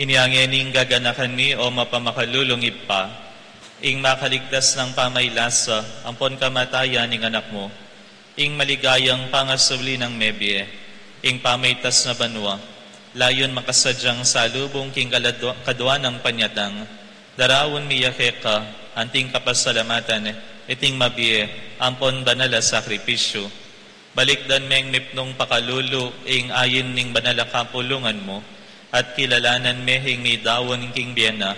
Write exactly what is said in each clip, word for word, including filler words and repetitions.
Inya ngening gaganakan mi, o mapamakalulung Ibpa, ing makaligtas nang pamaylasa ampon kamatayan ning Anak mu, ing maligayang pangasubli nang mebie, ing pamaitas na banua, layun makasadyang salubung king kaladwa-, kadwa nang panyatang, daraun mi ya keka, anting kapasalamatan, iting mabie ampon banal a sakripisyu. Balikdan meng mipnung pakalulu ing ain ning banal a kapulungan mu, at kilalanan me ing midaun king bie na,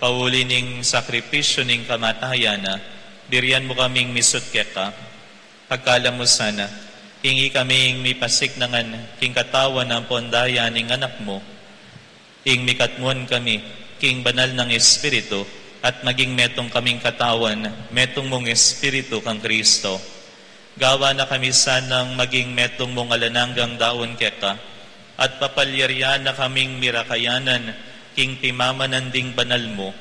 pauli ning sakripisyu ning kamatayan na, birian mu kaming misut keka. Pagkalam mu sana, ing ikami ing mipasiknangan king katawan ampon daya ning Anak mu, ing mikatmuan kami king banal nang Espiritu, at maging metung kaming katawan, metung mung Espiritu kang Kristo. Gawa na kami sanang maging metung mung alang anggang daun keka, at papalyarian na kaming mirakayanan king pimamanan ding banal mu.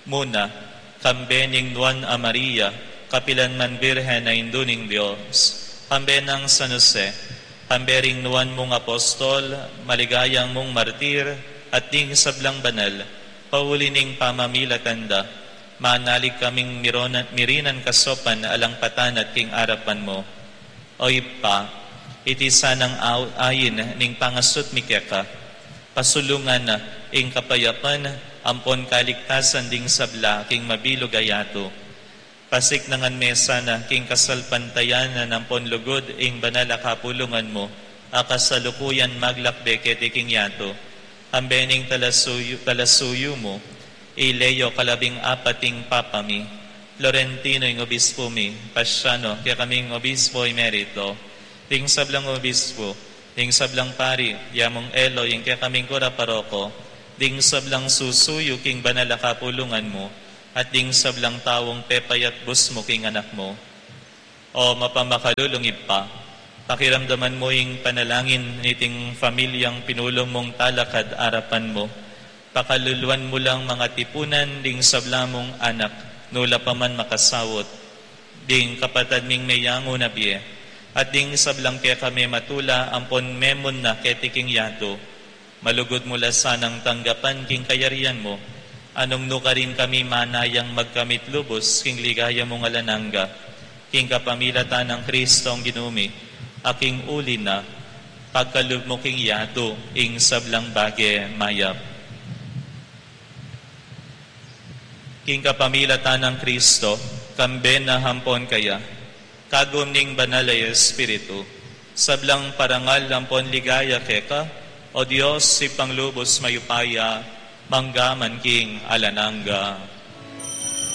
Muna, kambe ning Nuan a Maria, kapilan man Birhen a Indu ning Dios, kambe nang San Jose, kambe ring nuan mung apostol, maligayang mung martir, at ding sablang banal, pauli ning pamamilatan da, manalig kaming mironan, mirinan kasopan alang patanat king arapan mu. O Ibpa, iti sanang au-, ain ning pangasut mi keka, pasulungan na ing kapayapan ampon kaligtasan ding sabla king mabilug a yatu. Pasiknangan me sana king kasalpantayanan ampon lugud ing banal a kapulungan mu, a kasalukuyan maglakbe keti king yatu. Kambe ning talasuyu, talasuyu mu, i Leo kalabing apat ing Papa mi, Florentino ing obispo mi, Paciano, kekaming obispo emerito, ding sablang obispo, ding sablang pari, Yamung Elo, ing kekaming kura paroko, ding sablang susuyu king banal a kapulungan mu, at ding sablang taung pepayatbus mu king Anak mu. O mapamakalulung Ibpa, pakiramdaman mu ing panalangin niting pamilyang pinulung mung talakad arapan mu. Pakaluluan mu lang mangatipunan ding sabla mung anak, nula pa man makasaut, ding kapatad ming meyangu na bie, at ding sablang kekami matula ampon memun na keti king yatu. Malugud mu la sanang tanggapan king kayarian mu, nung nukarin kami manayang magkamit lubus king ligaya mung alang angga, king kapamilatan nang Kristong Ginu mi, a king uli na, pagkalub mu king yatu ing sablang bage mayap. King kapamilatan nang Kristo, kambe na ampon kaya, kagum ning Banal a Espiritu, sablang parangal ampon ligaya keka, O Dios, Ibpang lubus mayupaya, mangga man king alang angga.